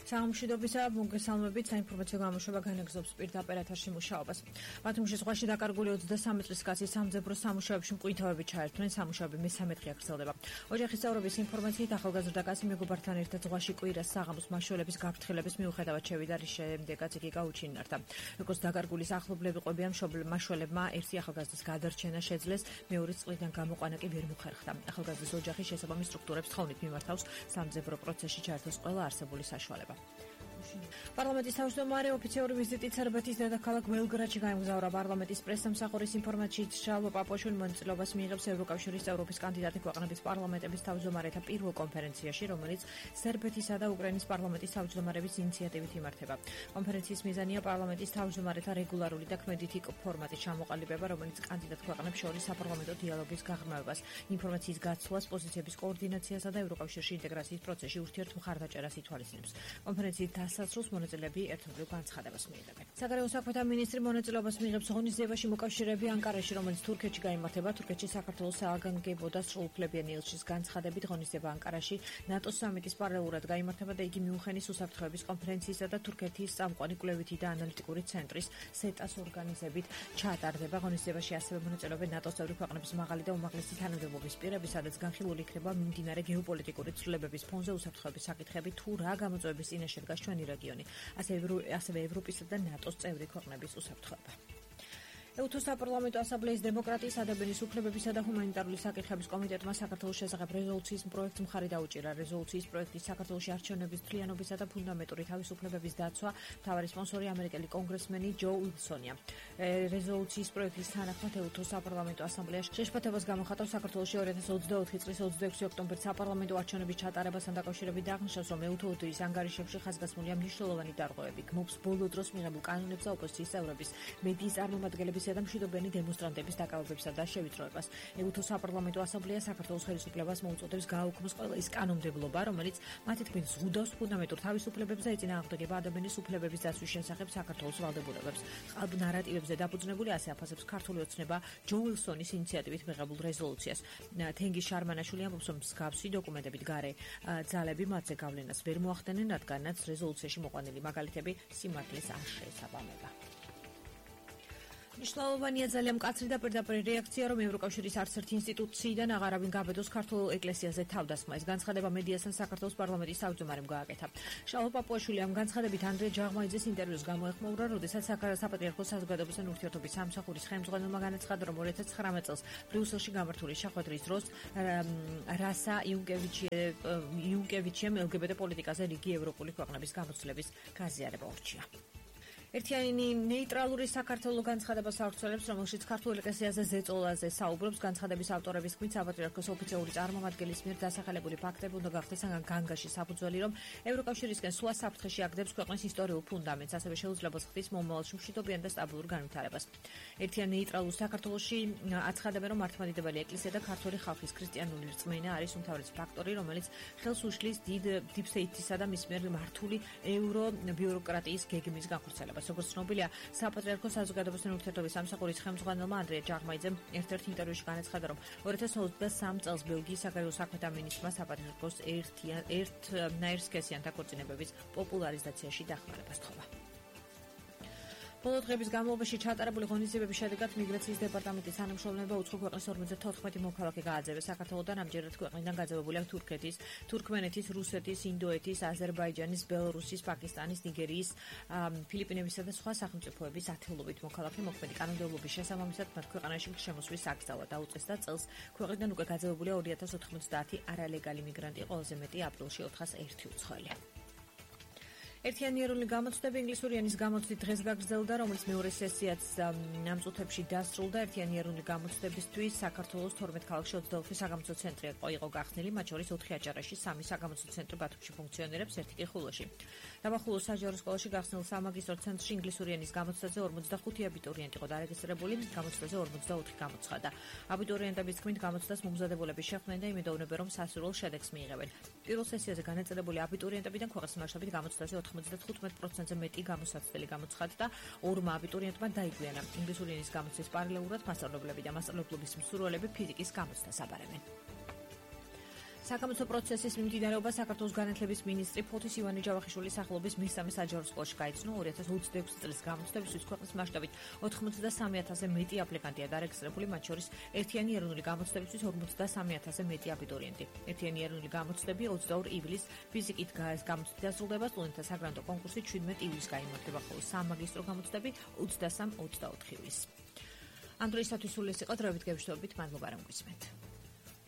სამშვიდობისა მოგესალმებით, საინფორმაციო გამოშვება განაგრძობს პირდაპირ ეთერში მუშაობას. მათუმში ზღვაში დაკარგული 23 წლის კაცი სამძებრო სამუშაოებში მკვითავები ჩაერთვნენ, სამუშაოები მესამე დღე გრძელდება. ოჯახის წევრების ინფორმაციით ახალგაზრდა კაცი მეგობართან ერთად ზღვაში კვირას საღამოს მაშველების გაფრთხილების მიუხედავად შევიდა, რის შემდეგაც იგი გაუჩინარდა. როგორც დაკარგული ახლობლები ყვებიან, მაშველებმა ერთი ახალგაზრდის გადარჩენა შეძლეს, მეორე წყლიდან გამოყვანა კი ვერ მოხერხდა. ახალგაზრდის ოჯახი შესაბამის სტრუქტურებს თხოვნით მიმართავს სამძებრო პროცესში ჩაერთოს ყველა არსებული საშუალება. პარლამენტის თავმჯდომარე ოფიციალური ვიზიტით სერბეთის დედაქალაქ ბელგრადში გაემგზავრა. პარლამენტის პრესსამსახურის ინფორმაციით შალვა პაპუაშვილი მონაწილეობას მიიღებს ევროკავშირის წევრობის კანდიდატი ქვეყნების პარლამენტების თავმჯდომარეთა პირველ კონფერენციაში, რომელიც სერბეთისა და უკრაინის პარლამენტის თავმჯდომარების ინიციატივით იმართება. კონფერენციის მიზანია პარლამენტის თავმჯდომარეთა რეგულარული და ქმედითი ფორმატის ჩამოყალიბება, რომელიც კანდიდატ ქვეყნებს შორის საპარლამენტო დიალოგის გაღრმავებას, ინფორმაციის გაცვლას, პოზიციების კოორდინაციასა და ევროკავშირში ინტეგრაციის პროცესში ურთიერთმხარდაჭერას ითვალისწინებს. კონფერენციის დასასრულს მონაწილეები ერთობლივ განცხადებას მიიღებენ. საგარეო საქმეთა მინისტრი მონაწილეობას მიიღებს ღონისძიებაში მოკავშირეები ანკარაში, რომელიც თურქეთში გაიმართება. თურქეთში საქართველოს სააგენტო და სრულუფლებიანი ელჩის განცხადებით ღონისძიება ანკარაში ნატოს სამიტის პარალელურად გაიმართება და იგი მიუნხენის უსაფრთხოების კონფერენციისა და თურქეთის წამყვანი კვლევითი და ანალიტიკური ცენტრის სეტას ორგანიზებით ჩატარდება. ღონისძიებაში ასევე მონაწილეობენ ნატოს წევრი ქვეყნების მაღალი და უმაღლესი თანამდებობის პირები, სადაც განხილული იქნება მიმდინარე გეოპოლიტიკური ცვლილებების ფონზე უსაფრთხოების საკითხები თუ რა გამოწვევების წინაშე დგას ჩვენი რეგიონი, ასევე ევროპისა და ნატოს წევრი ქვეყნების უსაფრთხოება. ეუთოს საპარლამენტო ასამბლეის დემოკრატიის, ადამიანის უფლებებისა და ჰუმანიტარული საკითხების კომიტეტმა საქართველოს შესახებ რეზოლუციის პროექტს მხარი დაუჭირა. რეზოლუციის პროექტის საქართველოში არჩევნების მთლიანობისა და ფუნდამენტური თავისუფლებების დაცვა მთავარი სპონსორი ამერიკელი კონგრესმენი ჯო უილსონია. რეზოლუციის პროექტის თანახმად ეუთოს საპარლამენტო ასამბლეა შეშფოთებას გამოხატავს საქართველოში 2024 წლის 26 ოქტომბერს საპარლამენტო არჩევნების ჩატარებასთან დაკავშირებით აღნიშნავს, რომ ეუთოს ანგარიშებში ხაზგასმულია მნიშვნელოვანი დარღვევები, გმობს ბოლო დროს მიღებულ კანონებს და ოპოზიციის წევრების, მედიის წარმომადგენლების და მშვიდობიანი დემონსტრანტების დაკავებებსა და შევიწროებას. ეუთოს საპარლამენტო ასამბლეა საქართველოს ხელისუფლებას მოუწოდებს გააუქმოს ყველა ის კანონმდებლობა, რომელიც მათი თქმით ზღუდავს ფუნდამენტურ თავისუფლებებს და ეწინააღმდეგება ადამიანის უფლებების დაცვის შესახებ საქართველოს ვალდებულებებს. ყალბ ნარატივებზე დაფუძნებული ასე აფასებს ქართული ოცნება ჯო უილსონის ინიციატივით მიღებულ რეზოლუციას. თენგიზ შარმანაშვილი ამბობს, რომ მსგავსი დოკუმენტებით გარე ძალები მათზე გავლენას ვერ მოახდენენ, რადგანაც რეზოლუციაში მოყვანილი მაგალითები სიმართლეს არ შეესაბამება. მნიშვნელოვანია ძალიან მკაცრი და პირდაპირ რეაქცია, რომ ევროკავშირის არც ერთი ინსტიტუციიდან აღარავინ გაბედოს ქართულ ეკლესიაზე თავდასხმა. ეს განცხადება მედიასთან საქართველოს პარლამენტის თავმჯდომარემ გააკეთა. შალვა პაპუაშვილი ამ განცხადებით ანდრია ჯაღმაიძეს ინტერვიუს გამოეხმაურა, როდესაც საპატრიარქოს საზოგადოებასთან ურთიერთობის სამსახურის ხელმძღვანელმა განაცხადა, რომ 2019 წელს ბრიუსელში გამართული შეხვედრის დროს რასა იუნკევიჩემ LGBT პოლიტიკაზე რიგი ევროპული ქვეყნების გამოცდილების გაზიარება ურჩია. ერთიანი ნეიტრალური საქართველოს განცხადებას ავრცელებს, რომელშიც ქართულ ეკლესიაზე ზეწოლაზე საუბრობს. განცხადების ავტორების თქმით, საპატრიარქოს ოფიციალური წარმომადგენლის მიერ დასახელებული ფაქტები უნდა გახდეს განგაში საფუძველი, რომ ევროკავშირისკენ სვლა საფრთხეში აგდებს ქვეყნის ისტორიულ ფუნდამენტს, ასევე შეუძლებელს ხდის მომავალში მშვიდობიან და სტაბილურ განვითარებას. ერთიანი ნეიტრალურ საქართველოში აცხადებენ, რომ მართლმადიდებელი ეკლესია და ქართული ხალხის ქრისტიანული რწმენა არის უმთავრესი ფაქტორი, რომელიც ხელს უშლის დიპსტეიტისა და მის მიერ მართული ევრობიუროკრატიის გეგმის განხორციელებას. როგორც ცნობილია, საპატრიარქოს საზოგადოებასთან ურთიერთობის სამსახურის ხელმძღვანელმა ანდრია ჯაღმაიძემ ერთ-ერთ ინტერვიუში განაცხადა, რომ 2023 წელს ბელგიის საგარეო საქმეთა მინისტრმა საპატრიარქოს ერთნაირსქესიან დაქორწინებების პოპულარიზაციაში დახმარება სთხოვა. ბოლო დღების განმავლობაში ჩატარებული ღონისძიებების შედეგად მიგრაციის დეპარტამენტის თანამშრომლობა უცხო ქვეყნის 54 მოქალაქე გააძევეს. საქართველოდან ამჯერად ქვეყნიდან გაძევებულია თურქეთის, თურქმენეთის, რუსეთის, ინდოეთის, აზერბაიჯანის, ბელორუსის, პაკისტანის, ნიგერიის, ფილიპინებისა და სხვა სახელმწიფოების ათეულობით მოქალაქე. მოქმედი კანონმდებლობის შესაბამისად მათ ქვეყანაში შემოსვლის საგზავა დაუწეს და წელს ქვეყნიდან უკვე გაძევებულია 2090 არალეგალი მიგრანტი, ყველაზე მეტი აპრილში 401 უცხოელი. ერთიანი ეროვნული გამოცდები ინგლისური ენის გამოცდით დღეს გაგრძელდა, რომელიც მეორე სესიაც ამ წუთებში დასრულდა. ერთიანი ეროვნული გამოცდებისთვის საქართველოს 12 ქალაქში 24 საგამოცდო ცენტრი იყო გახსნილი, მათ შორის 4 აჭარაში, 3 საგამოცდო ცენტრი ბათუმში ფუნქციონირებს, 1 კი ხულოში. დაბახულოს საჯარო სკოლაში გახსნილ სამაგისტრო ცენტრში ინგლისური ენის გამოცდაზე 45 აბიტურიენტი იყო დარეგისტრირებული, გამოცდაზე 44 გამოცხადა. აბიტურიენტების თქმით, გამოცდას მომზადებულები შეხვდნენ და იმედოვნებენ, რომ სასურველ შედეგს მიიღებენ. პირველ სესიაზე განაწილებული აბიტურიენტებიდან ქვეყნის მასშტაბით გამოცდაზე 95%-ზე მეტი გამოსაცდელი გამოცხადდა. ორმა აბიტურიენტმა დაიგვიანა. ინგლისური ენის გამოცდის პარალელურად მასწავლებლები და მასწავლებლობის მსურველები ფიზიკის გამოცდას აბარებენ. საკამათო პროცესის მიმდინარეობა საქართველოს განათლების მინისტრი ფოთის ივანე ჯავახიშვილის სახელობის მესამე საჯარო სკოლაში გაიცნო. 2026 წლის გამოცდებისთვის ქვეყნის მასშტაბით 93,000-ზე მეტი აპლიკანტია დარეგისტრირებული, მათ შორის ერთიანი ეროვნული გამოცდებისთვის 53,000-ზე მეტი აბიტურიენტი. ერთიანი ეროვნული გამოცდები 22 ივლისს ფიზიკით გამოცდით დასრულდება, სტუდენტთა საგრანტო კონკურსი 17 ივლისს გაიმართება, ხოლო სამაგისტრო გამოცდები 23-24 ივლისს. ამ დროისათვის სულ ეს იყო, დროებით გევშვებით, მადლობა რომ გვისმენთ.